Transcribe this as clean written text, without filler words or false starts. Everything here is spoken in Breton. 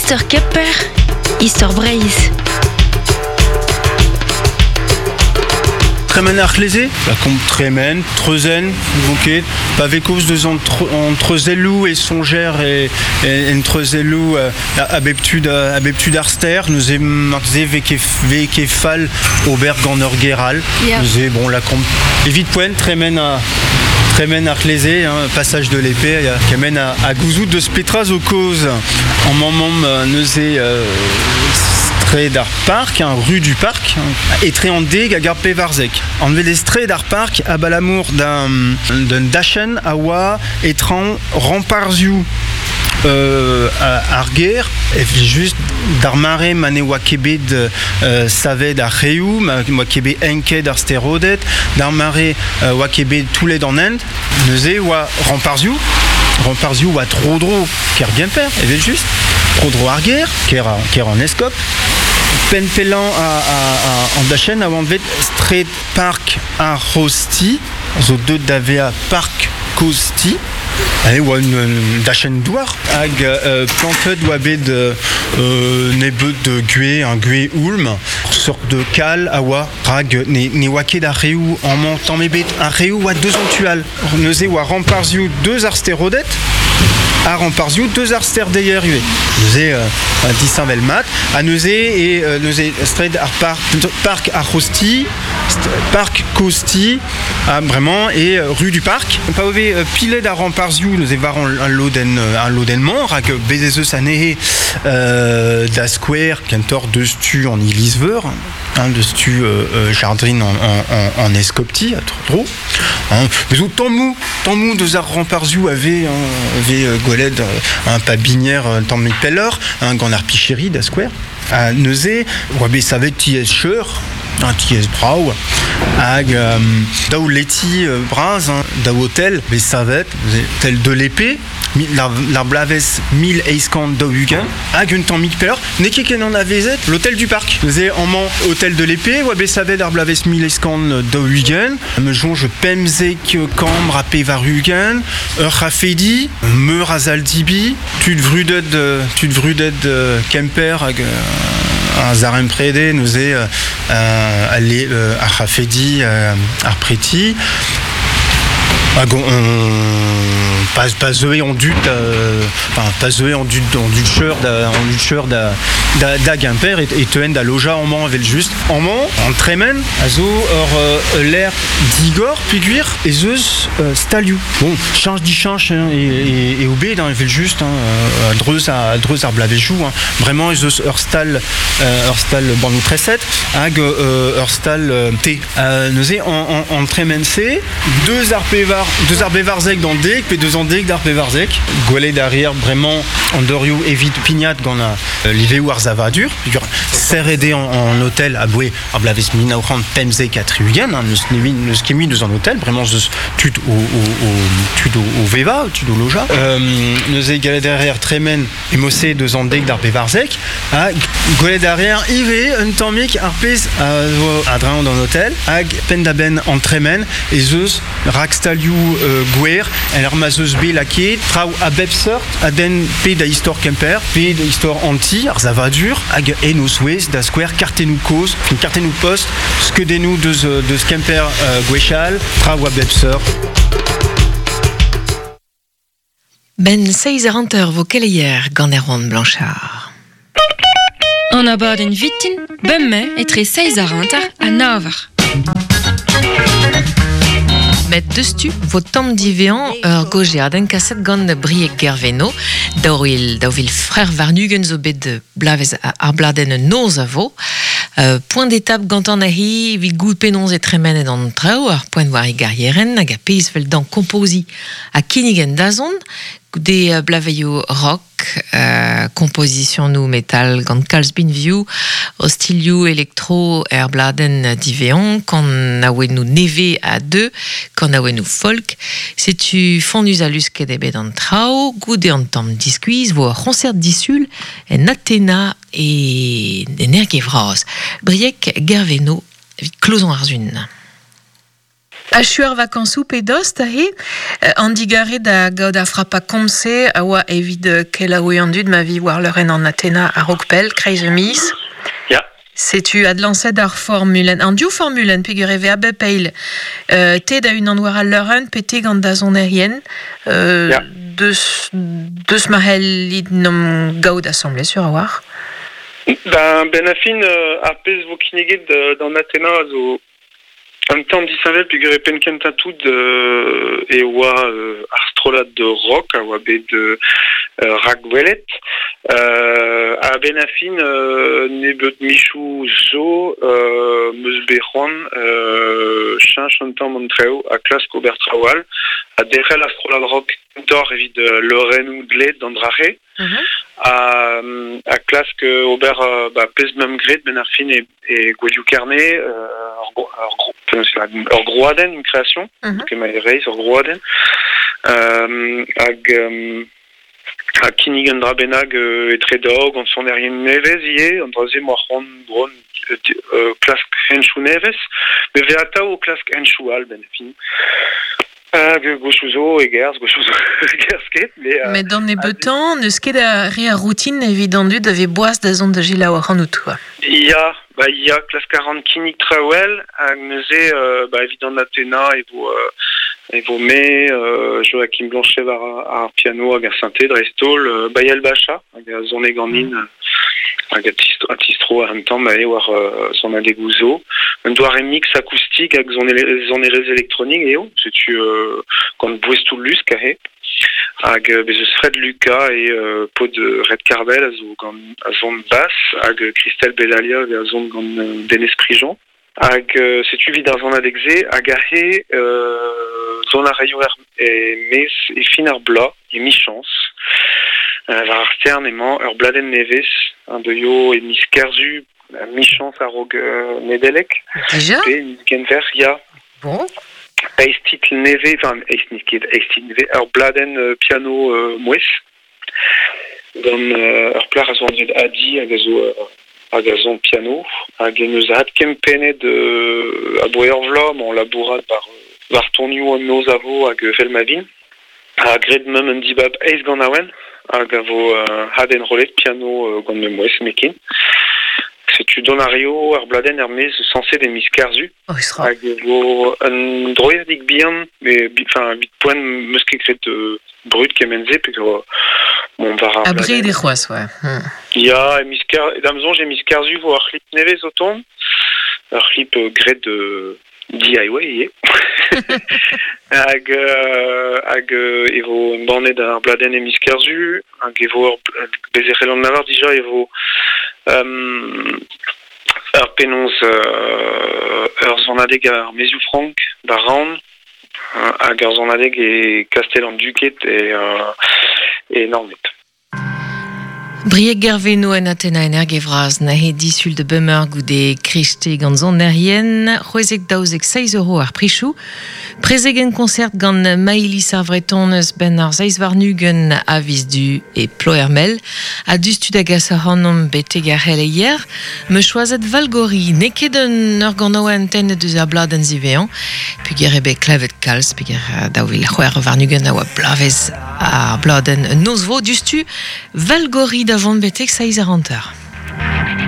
Istor Kemper, Istor Breizh. Tremen ar c'hleze, lakaomp tremen, treuzenn, n'ouzon ket, pa vez kaoz deus an, an treuzelloù e soñjer e, e, en treuzelloù a, bep tu da, a bep tu d'ar stêr, neuze marteze vez ket, vez ket fall ober gant ur ger all. Yeah. Neuze, bon, lakaomp evit poent tremen a, tremen ar c'hleze, hein, passage de l'épée, ya, kemen a, a gouzout deus petra zo kaoz. En mammomp neuze straed ar park, hein, rue du parc, hein, etre an deg hag ar pevarzek. Anvet eo straed ar park abalamour d'un d'un dachenn a oa e-traoñ ramparzhioù ar gêr, evel-just d'ar mare ma ne oa ket bet savet ar c'haeoù, ma oa ket bet enket ar steroded, d'ar mare oa ket bet toullet an hent, neuze oa ramparzhioù, ramparzhioù oa tro-dro kêr Gemper, evel-just, tro-dro ar gêr, kêr, kêr an eskob. Penn pellañ an dachenn a oa anvet straed Park ar C'hozh-Ti, zo deuet da vezañ Park Kozh-Ti. E oa un dachenn douar hag plantet oa bet nebeut de gwez, un gwez oulm, seurt de kal a oa, rak ne, ne oa ket ar reoù amañ tamm ebet. Ar reoù oa deus an tu all. Neuze oa ramparzhioù deus ar steroded ha ramparzhioù deus ar sterdeier ivez. Neuze disheñvel mat. Ha neuze e neuze straed ar park, park ar C'hozh-Ti, park Kozh-Ti, ha bremañ e rue du Parc. Pa vez pilet ar ramparzhioù neuze war al lodenn al lodenn-mañ, rak bez ez eus anezhe da skouer kentoc'h deus tu an iliz-veur, hein, deus tu jardrin an, an, an eskopti, a tro-dro. Hein. Mais zo tammoù, tammoù deus ar ramparzhioù a vez, hein, a vez gwelet un pabinier un tamm pelloc'h, hein, gant ar picheri da skouer. Ha neuze, oa bet savet tiez cheur, un tiez brav, hag daou leti bras, hein, daou hôtel bet savet, tel de l'épée, l'ar bloavezh 1840, hag un tammig pelloc'h, n'eo ket ken anavezet l'hôtel du parc. Neuze amañ hôtel de l'épée, oa bet savet ar bloavezh 1840, me soñj pemzek kambr ha pevar-ugent, ur c'hafedi, meur a sal-dibi, tud vrudet, tud vrudet Kemper hag a zaremprede neuze ar c'hafedi, ar preti. Hag on, pas, pas zeue an dud, enfin, pas zeue an dud, an dud cheur da, an dud cheur da, da, da Gemper e, e teuen da lojañ amañ evel-just. Amañ, an tremen a zo ur lec'h digor peogwir ez eus stalioù. Bon, chañch dichañch hein, eo bet hein, evel-just hein, a-dreuz a-dreuz ar bloavezhioù. Hein. Bremañ ez eus ur stal ur stal bannoù treset hag ur stal te. Neuze an, an tremen-se, deus ar pevar deus ar pevarzek d'an dek pe deus an dek d'ar pevarzek. Gwelet a reer bremañ an dorioù evit pignat gant liveoù ar savadur. Serret eo an hôtel aboe ar bloavezh 1975, hein, n'eus n'eus ket mui deus an hôtel, bremañ eus tud o, o, o, tud o, o vevañ, tud o lojañ. Neuze gallet a reer tremen emose deus an dek d'ar pevarzek, ha gwelet a reer ivez un tammig ar pezh a zo a-dreñv d'an hôtel, hag penn-da-benn an tremen ez eus rakstalioù gwer en ur ma'z eus bet lakaet traoù a bep seurt a denn pe da istor Kemper pe da istor an ti, ar savadur, hag en o zouez da skouer kartennoù kozh, kartennoù post, skeudennoù deus, deus Kemper gwechall, traoù a bep seurt. Ben seizh eur hanter vo keleier gant Erwan Blanchard. An abadenn vitin, bemdez etre seizh eur hanter ha nav eur. Met deus-tu vo tamm diveañ ur gaozeadenn kaset gant Brieg Gerveno. Daou vil, daou vil frer warn-ugent zo bet blavezh ar bladenn noz a vo. Point d'étape gantañ neuze evit goût penaos e tremenet an traoù, ar poent war e garierenn hag ar pezh 'vel dañ kompoziñ ha kinnig en dazont goude blaveioù rock, kompozisionoù metal gant kalz binvioù, ostilhoù elektro er bladenn diveañ, kanaouennoù nevez a deu, kanaouennoù folk. Setu fonnus ha lusket eo bet an traoù. Goude an tamm diskuizh vo ur c'hoñsert disul en Athena e en Erge-Vras. Brieg Gerveno evit klozañ ar sun. Achu ar vakañsoù pe dost aze, an digarez da gaout ar frapa komz-se a oa evit kelaouiñ an dud ma vi war leurenn an Atena a-raok pell, kreiz miz. Ya. Setu adlañset ar formulenn, an div formulenn peogwir e vez a bep eil. Te da-unan war al leurenn pe te gant da sonerien. Ya. Deus, deus ma c'hellit 'n gaout asambles sur a-walc'h. Ben, ben a fin, ar pezh vo kinniget d'an Atena a zo un tamm disheñvel peogwir e penn kentañ tout e oa ar strollad rock a oa bet rakwelet. A-benn ar fin nebeut michoù zo 'm eus bet c'hoant cheñch un tamm an traoù ha klask ober traoù all ha derc'hel ar strollad rock kentoc'h evit leurennoù dleet d'an dra-se. Ha klask ober ba, pezh 'meump graet 'benn ar fin e Gouelioù Kerne, ur grouadenn, une création, emañ e reizh, ur grouadenn. Hag ha kinnig un dra bennak etre daou gant sonerien nevez ivez, an dra-se 'moa c'hoant bon klask henchoù nevez, me vez atav o klask henchoù all 'benn ar fin. Hag gwechoù zo e gerzh, gwechoù zo e gerzh ket. Mais, Met d'an nebeutañ, n'eus ket a re a routine evit an dud a vez boas da zont da selaou ac'hanout, quoi. Ya, ba ya, klask a ran kinnig traoù all, hag neuze ba, evit an Atena e vo, e vo me, Joachim Blanchet war ar piano hag ar synthé dreist-holl, Bayel Bacha hag a sone ganin hag a tistro un tamm eo war sonadegoù zo. Un doare mix akoustik hag sonerezh elektronik eo, setu gant boestoù lusk aze. Hag bez eus Fred Lucas e paotr Red Cardell a zo gant a son bass hag Christelle Bellalia a son gant Denez Prigent. Hag setu evit ar sonadeg-se hag aze son a raio e-maez e fin ar bloaz, emichañs. War ar stern emañ ur bladenn nevez a deuio e miz Kerzu, emichañs a-raok Nedeleg. Dija? Pe miz Genver, ya. Bon. Eizh titl nevez, enfin eizh n'eo ket eizh titl nevez, ur bladenn piano mouezh. Gant ur plac'h a zo anvet Adi hag a zo hag a son piano hag en deus adkempennet aboe ur vloaz emañ labourat war war tonioù an noz a vo hag evel ma vin. Ha graet meump un dibab eizh ganaouenn hag a vo adenrollet piano gant ma mouezh nemetken. Setu dont a raio ar bladenn er-maez sañset e miz Kerzu. Oh, Hag e vo un droiadig bihan, mais enfin evit poent 'meus ket graet brud kement-se peogwir mont war ar Abred eo c'hoazh, ouais. Ya, e miz Ker da'm soñj e miz Kerzu vo ar c'hlip nevez o tont. Ur c'hlip graet DIY ivez. Hag hag e vo embannet ar bladenn e miz Kerzu hag e vo ur bez e c'hellan lavar dija e vo ur penaos ur sonadeg ar Maezioù Frank da Raon hag ur sonadeg e Kastell an Duked e Naoned. Brieg Gerveno en Atena Energe vras neuze disul da bemeur goude kriste gant sonerien, c'hwezek daouzek seizh euro ar prichoù. Prezegenn concert gant Maïlis ar Vretonez benn ar seizh warn-ugent a viz Du e Ploermel. Ha diouzhtu da gas ac'hanomp betek ar c'heleier, 'meus choazet Valgori. N'eo ket un ur ganaouenn tennet eus ar bladenn ziwezhañ, peogwir eo bet klevet kalz, peogwir 2026 a oa bloavezh ar bladenn Noz vo diouzhtu Valgori da vont betek 7h50.